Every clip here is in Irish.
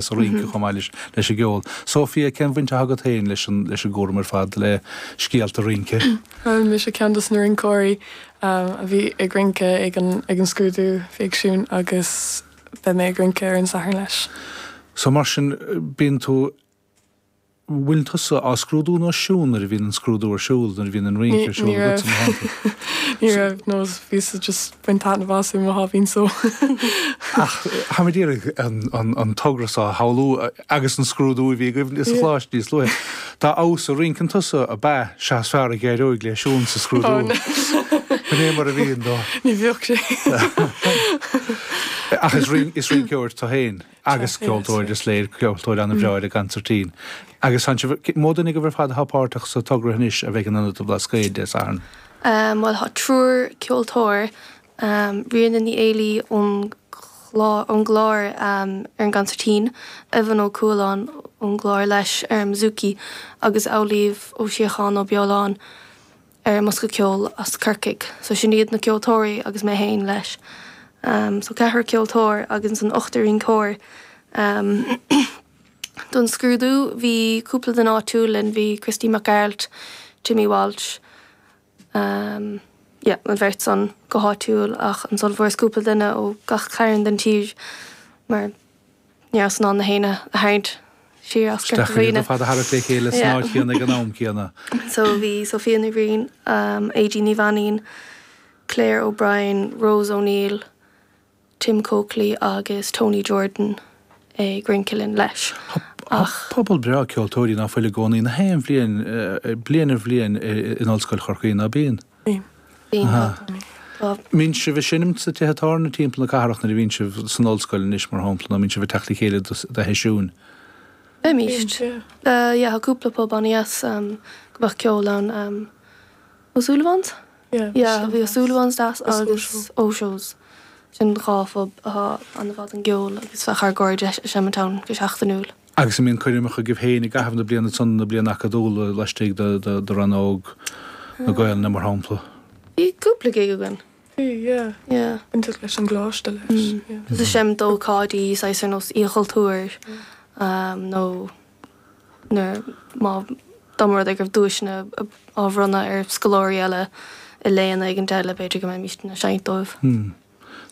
Sa rince chomh maith leis an gceol. Sophia, cén bhaint atá agat féin leis an leis an gcúram ar fad le Scéalta Rince? Bhuel, mise ceann dos na rinceoirí a bhí ag rince ag an ag an scrúdú a bhí ag Siún agus beidh mé ag rince ar an Satharn leis. So mar sin, bíonn tú bhfuil tusa á scrúdú nó Siún nuair a bhíonn an scrúdú ar siúl, nuair a bhíonn an rince ar siúl agatsa mar shampla? Ní raibh, no bhíos just ag baint taitneamh as i mo sháimhín só. Ach táim ag iarraidh an togra seo a shamhlú agus an scrúdú a bhí agaibh sa choláiste níos luaithe. Dá fheabhas a rinceann tusa ab ea sea is fearr a d'éireoidh le Siún sa scrúdú. B'in é mar a bhíonn dó. Ní bheadh sé. Ach is rinceoir tú féin. Agus ceoltóir, is léir, ceoltóir an-bhreá ar an gconsairtín. Agus tá sibh, mó duine agaibh ar fad atá páirteach sa togra anois a bheidh in Ionad an Bhlascaoid Dé Sathairn? Bhuel, tá triúr ceoltóir, Ríona Ní Éilí ón ón gClár ar an gconsairtín, Evan Ó Cualáin ón gClár leis ar an mbouzouki agus Amhlaoibh Ó Síocháin Ó Beoláin. ar an mbosca ceoil as Corcaigh. So sin iad na ceoltóirí agus mé féin leis. So ceathrar ceoltóir agus ansan ochtar rinceoir. Don scrúdú bhí cúpla duine áitiúil linn, bhí Christy Mac Gearailt, Timmy Walsh, yeah an bheirt san go háitiúil ach ansan fuaireas cúpla duine ó gach cearn den tír mar Ní rabhas in ann na héinne a tharraingt siar as Corca Dhuibhne. Iad ar fad a tharrac le chéile san áit chéanna ag an am céanna. So bhí Sophia Ní Bhriain, Aedín Ní Mhainín, Claire O'Brien, Rose O'Neill, Tim Coakley agus Tony Jordan ag rince linn leis. Tá pobal breá ceoltóirí ná fuil i gcónaí na haon bhliain, bliain ar bhliain in Ollscoil Chorcaí, ná bíonn? Bíonn. Mbíonn sibh ag seinm sna tithe tábhairne timpeall na cathrach nuair a bhíonn sibh san ollscoil anois, mar shampla, nó mbíonn sibh ag teacht le chéile do sheisiúin? Bímist. Yeah, tá cúpla pub an-dheas go mbeadh ceol ann. O'Sullivan's? Yeah, bhí O'Sullivan's deas agus O'Shows. Sin dhá phub atá an-mhaith don gceol agus bheadh ár gcairde ag seimint ann go seachtainiúil. Agus an mbíonn coirmeacha agaibh féin i gcaitheamh na bliana ansan, na bliana acadúla, laistigh de rannóg na Gaelainne, mar shampla? Bhí cúpla gig againn. Bhí, yeah. Yeah. Bainteach leis an gcoláiste leis, yeah. Just ag seinm d'ócáidí, saghas ar nós Oíche Chultúir, nó nuair, má, dá mba rud é go raibh duaiseanna á bhronnadh ar scoláirí eile i léanna éigin eile, b'fhéidir go mbeimíst ag seinnt dóibh.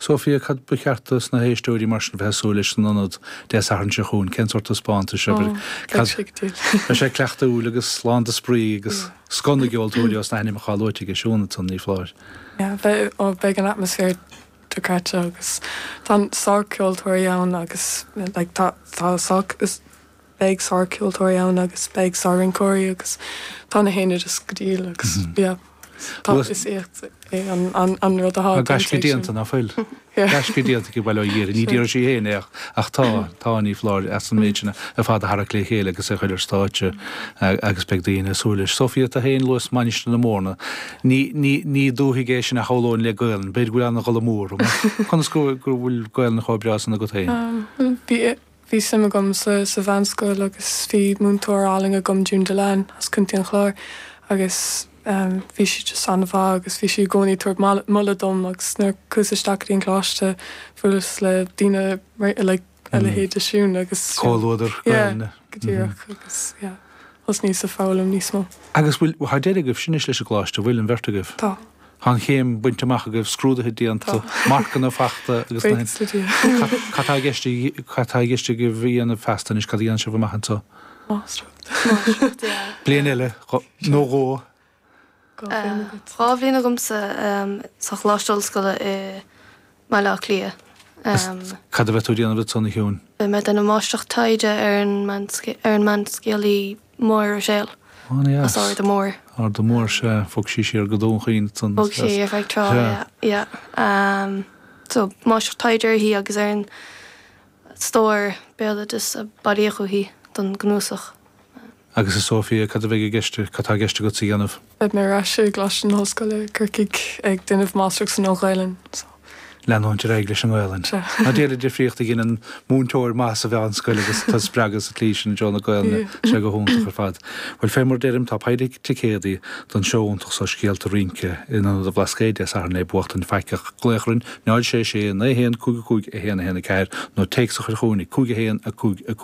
Sophia, Cad ba cheart dos na héisteoirí mar sin bheith ag súil leis san ionad Dé Sathairn seo chugainn? Cén sórt taispeántais? Abair, cad. Beidh sé go diail. Beidh sé cleachtúil agus lán de spraoi agus scoth na gceoltóirí os na hainmneacha atá luaite aige Siún ansan, ní foláir. Yeah, beidh, ó, beidh an atmaisféar dochreidte agus tá sárcheoltóirí ann agus like tá, tá sá, is, beidh sárcheoltóirí ann agus beidh sár-rinceoirí agus tá na héinne just go diail agus yeah tá is éacht é an an an rud atá Tá gaisce déanta ná fuil? Gaisce déanta aici bail ó Dhia uirthi. Ní déarfaidh sí féin é ach ach tá, tá, ní foláir, as an méid sin ar fad a tharrac le chéile agus é a chur ar stáitse agus beidh daoine ag súil leis. Sophia, tú féin luais Mainistir na Mórna. Ní, ní, ní dúthaigh é sin a shamhlóinn le Gaelainn. B'fhéidir go bhfuil an-dhul amú orm. Conas go go bhfuil Gaelainn chomh breá san agat féin? Bhí Bhí suim agam sa sa mheánscoil agus bhí múinteoir álainn agam, June Dillane, as Contae an Chláir agus bhí sí just an-mhaith agus bhí sí i gcónaí ag tabhairt moladh dom agus nuair a chuas isteach go dtí an coláiste bhuaileas le daoine like a leithéid de Siún agus Comhluadar yeah Gaelainne. go díreach agus yeah thosnaíos ag foghlaim níos mó. Agus bhfuil, tá deireadh agaibh sin anois leis an gcoláiste, bhfuil, an bheirt agaibh? Tá. Tá an chéim bainte amach agaibh, scrúduithe déanta, marcanna fachta agus na. Buíochas le Dia. Cad tá i gceist, cad tá i gceist agaibh a dhéanamh feasta anois, cad a dhéanfaidh sibh amach anseo? Máistreacht. Máistreacht, yeah. Bliain eile, nó dhó. Dhá bhliain agat. Dhá bhliain agamsa sa Choláiste Ollscoile i mBaile Átha Cliath. Cad a bheidh tú ag déanamh ansan, a Shiúin? Beidh mé ag déanamh máistreacht taighde ar an mbanscéalaí Máire Ruiséal as Arda Mór. Arda Mór, sea. Bhog sí siar go Dún Chaoin ansan. Bhog sí ar feadh tráth, yeah, yeah. So, máistreacht taighde uirthi agus ar an stór béaloidis a bailíodh uaithi don gcnuasach. Agus a Sophia, cad a bheidh i gceist, cad tá i gceist agatsa a dhéanamh? Beidh mé ar ais i gColáiste na hOllscoile, Corcaigh, ag déanamh máistreacht san Nua-Ghaelainn, so. Leanúint ar aghaidh leis an nGaelainn. Ná déan an difríocht a dheineann múinteoir maith sa mheánscoil agus tá spreagadh sa tslí sin i dtreo na Gaelainne. Tá sé go hiontach ar fad. Bhuel, fé mar a deirim, tá péire ticéadaí don seó iontach so Scéalta Rince in Ionad an Bhlascaoid Dé Sathairn le buachtaint faighte ach glaoch orainn 0 6 6 9 1 5 5 1 1 4 nó téacs a chur chugainn ag 5 1 5 5.